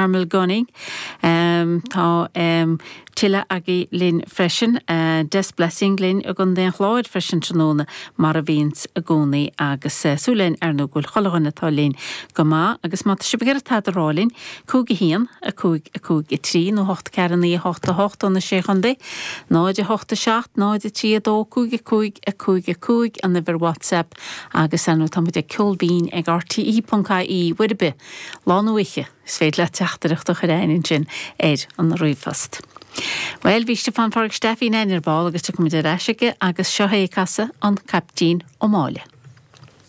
Carmel Gunning. Tá tuilleadh agaibh linn freisin. Des Blessing linn i gContae an Chláir freisin tráthnóna, mar a bhíonns i gcónaí agus súil againn ar ndóigh go bhfuil chuile dhuine atá linn go maith agus má tá sibh ag iarraidh tada a rá linn, 5 1, 5, 5, 3 nó 8 4 9 8 8 ó na Sé Chontae, 0 8 7 0 3 2 5 5 5 5 an uimhir WhatsApp agus ar ndóigh tá muid ag ceolbhinn ag rte ponc ie uair ar bith, lá nó oíche, is féidir leat teachtaireacht a chur chugainn ansin ar an ríomhphost. Bhuel, bhí Stiofán Phádraig Stephen againn ar ball agus tiocfaidh muid ar ais aige agus seo é ag casadh An Caiptín Ó Máille.